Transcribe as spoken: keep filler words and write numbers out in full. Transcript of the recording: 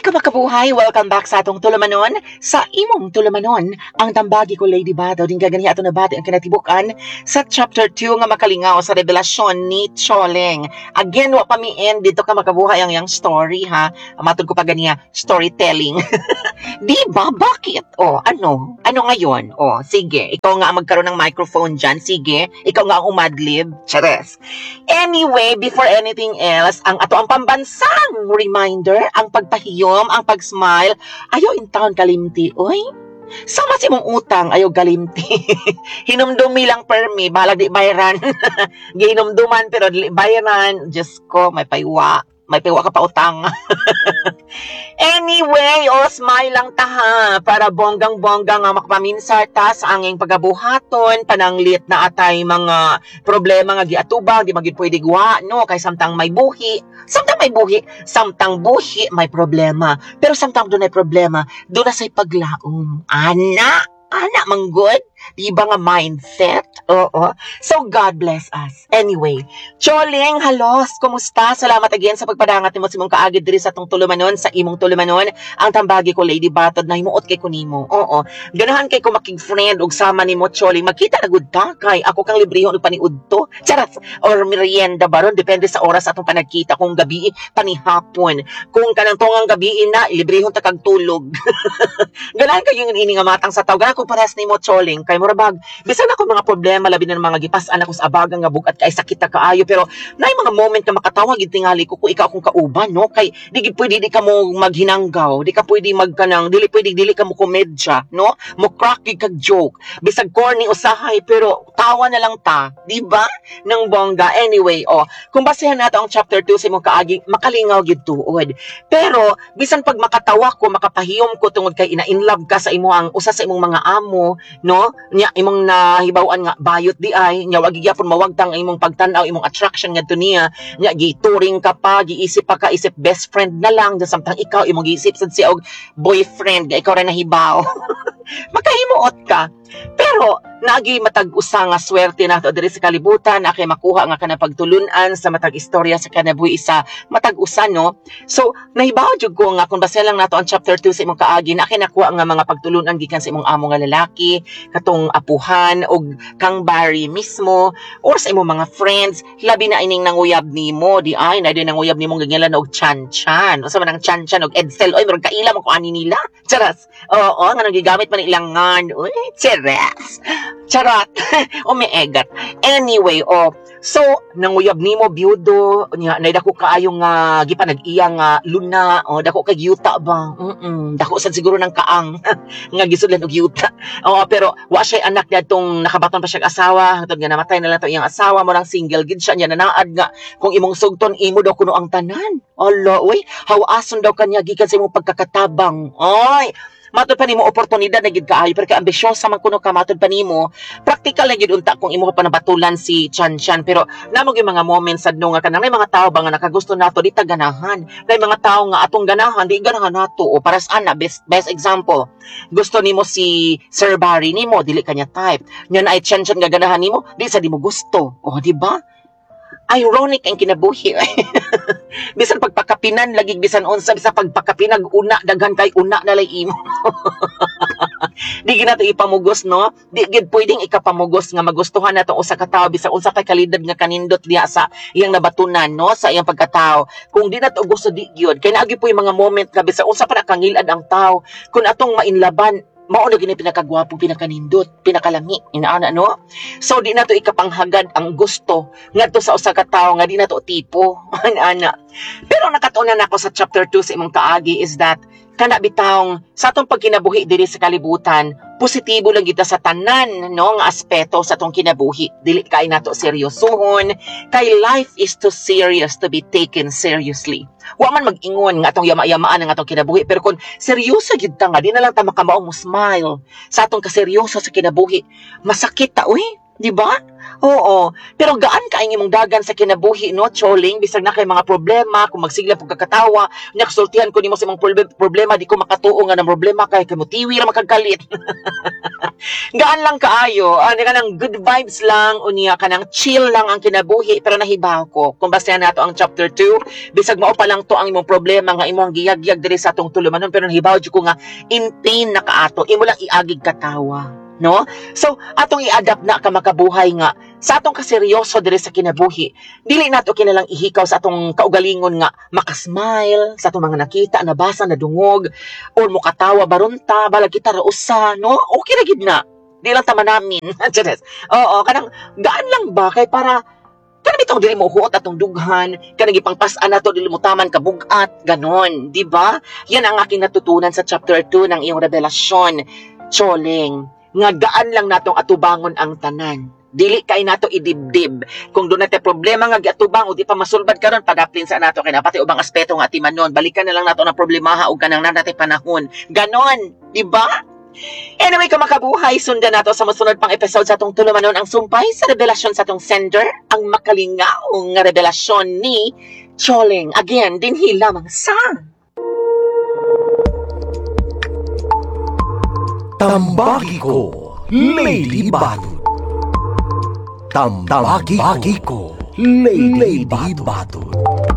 ka makabuhay? Welcome back sa atong tulumanon. Sa imong tulumanon, ang tambagi ko Lady Badaw, din gaganiha ato nabati ang kinatibukan sa chapter two nga makalingaw sa revelasyon ni Choleng. Again, wa pa mi end dito ka makabuhay ang iyang story ha. Matod ko pa ganiya, storytelling. Di ba? Bakit? Oh, ano? Ano ngayon? Oh, sige. Ikaw nga ang magkaroon ng microphone dyan. Sige. Ikaw nga ang umadlib. Chares. Anyway, before anything else, ang ato ang pambansang reminder, ang pagpahiyom, ang pag-smile, ayaw in town kalimti, oy. Sama si mong utang, ayaw kalimti. Hinumdumi lang permi, bahalag di bayaran. Gihinumduman pero dili bayaran. Diyos ko, may paywa. May paywa ka pa utang. Anyway, o smile lang ta ha, para bonggang-bongga nga makapaminsar ta sa anging pagabuhaton, pananglit na atay mga problema nga giatubang, di magid pwede guwa, no? Kay samtang may buhi, samtang may buhi, samtang buhi may problema. Pero samtang doon ay problema, doon na sa'y paglaom. Ana, ana manggod. Di ba nga mindset? Oo. So, God bless us. Anyway, Choleng, halos, kumusta? Salamat again sa pagpadangat nimo sa imong kaagid diri sa atong tulumanon, sa imong tulumanon. Ang tambagi ko, Lady Batod, na himuot kay ko nimo. Oo. Ganahan kay ko makig-friend og sama nimo, Choleng. Magkita na gud ta kay ako kang librehon og paniudto. Charas. Or merienda baron, depende sa oras atong panagkita kung gabi panihapon. Kung kanang tungang gabi na, librehon ta kag tulog. Ganahan kayo yung ini nga matang sa tao. Ganahan ko parehas nimo, Choleng. Kay mura bag, bisan ako mga problema labi na ng mga gipas-an ako sa abagang nga bugat kay sakit na kaayo pero naay mga moment nga makatawa gid tingali ko kung ikaw akong kauban no kay di gid pwede di ka mo maghinanggaw di ka pwede magkanang dili pwede dili ka mo komedya no mo crack gid kag joke bisag corny usahay pero tawa na lang ta di ba nang bongga anyway oh kung basehan nato ang chapter two sa imong kaagi makalingaw gid tuod pero bisan pag makatawa ko makapahiyom ko tungod kay ina in love ka sa imo ang usa sa imong mga amo no nya imong nahibaw-an nga bayot di ay nya wag gyapon mawagtang ang imong pagtan-aw imong attraction ngadto niya nya gituring ka pa giisip pa ka isip best friend na lang samtang ikaw imong giisip sad siya og boyfriend nga ikaw ra nahibaw makahimuot ka pero naagi matag usa nga swerte nato diri sa kalibutan na kay makuha nga kana pagtulun-an sa matag istorya sa kinabuhi sa matag usa no so nahibaw jud ko nga kung base lang nato ang chapter two sa imong kaagi na kay nakuha nga mga pagtulun-an gikan sa imong amo nga lalaki katong apuhan og kang Barry mismo or sa imong mga friends labi na ining nanguyab nimo di ay na din nanguyab nimo ganyan og chan-chan unsa man ang chan-chan og Edsel oy murag kaila mo ko ani nila charas oo nga nang gigamit man ilangan uy charas charot umiegat anyway oh so nanguyab nimo byudo nya nay dako kaayo nga gipanag-iya nga luna o dako kay yuta ba mm dako sad siguro ng kaang nga gisudlan og yuta oo pero wa siya anak dadtong nakabaton pa siya asawa hangtod nga namatay na lang to iyang asawa mo lang single gid siya nya nanaad nga kung imong sugton imo daw kuno ang tanan ala uy hawason daw kanya gikan sa imong pagkakatabang oy matod pa nimo oportunidad na gid kaayo pero kay ambisyosa man kuno ka matod pa nimo practical na gid unta kung imo pa nabatulan si Chan Chan pero namo gyud mga moments sad no nga kanang may mga tao ba nga nakagusto nato di ta ganahan may mga tao nga atong ganahan di ganahan nato o para sa ana best best example gusto nimo si Sir Barry nimo dili kanya type nya na ay Chan Chan nga ganahan nimo di sa di mo gusto o di ba ironic ang kinabuhi bisan pagpakapinan lagi bisan unsa bisan pagpakapinag una daghan kay una na lay imo di gid nato ipamugos no di gid pwedeng ikapamugos nga magustuhan nato usa ka tawo bisan unsa kay kalidad nga kanindot diha sa iyang nabatunan no sa iyang pagkatao kung di nato gusto di gyud kay naagi po yung mga moment nga bisan unsa pa na kangilad ang tao kung atong mainlaban mao na gini pinakagwapo pinakanindot pinakalami inaana no so di nato ikapanghagad ang gusto ngadto sa usa ka tawo nga di nato tipo ana pero nakatuonan nako sa chapter two sa imong kaagi is that kana bitawng sa atong pagkinabuhi diri sa kalibutan positibo lang kita sa tanan no nga aspeto sa atong kinabuhi dili kay nato seryosohon kay life is too serious to be taken seriously wa man mag-ingon nga atong yama-yamaan ang atong kinabuhi pero kung seryoso gyud ta nga di na lang ta makamaong mo smile sa atong kaseryoso sa kinabuhi masakit ta uy Di ba? Oo. Pero gaan ka ang imong dagan sa kinabuhi, no, Choling? Bisag na kay mga problema, kung magsigla pag kakatawa, nakasultihan ko nimo sa imong proble- problema, di ko makatuo nga ng problema kay kay motiwi ra makagalit. Gaan lang kaayo, ano, kanang good vibes lang, unya kanang chill lang ang kinabuhi, pero nahibaw ko. Kung basta nato ang chapter two, bisag mao pa lang to ang imong problema nga imong giyagyag diri sa atong tulumanon, pero nahibaw jud ko nga in pain na kaato, imo lang iagig katawa, no? So, atong i-adapt na ka makabuhay nga sa atong kaseryoso diri sa kinabuhi. Dili nato kinalang ihikaw sa atong kaugalingon nga makasmile sa atong mga nakita, nabasa, nadungog, or mukatawa barunta, balag kita ra usa, no? Okay ra gid na. Di lang tama namin. Charis. Oo, kanang gaan lang ba kay para kanang bitong dili mo huot atong dughan, kanang gipangpas-an nato dili mo taman kabugat, ganon, di ba? Yan ang aking natutunan sa chapter two ng iyong revelasyon, Choling, nga gaan lang natong atubangon ang tanan. Dili kay nato idibdib. Kung doon natin problema nga giatubang o di pa masulbad karon, padaplin sa nato kay napati ubang aspeto nga atimanon. Balikan na lang nato ng problemaha og kanang natay panahon. Ganon, di ba? Anyway, kamakabuhay, sundan nato sa mosunod pang episode sa atong tulumanon ang sumpay sa revelasyon sa atong sender, ang makalingaong nga revelasyon ni Choling. Again, dinhi lamang sa Tambagi ko, Lady Batud. Tambagi ko, Lady Batud.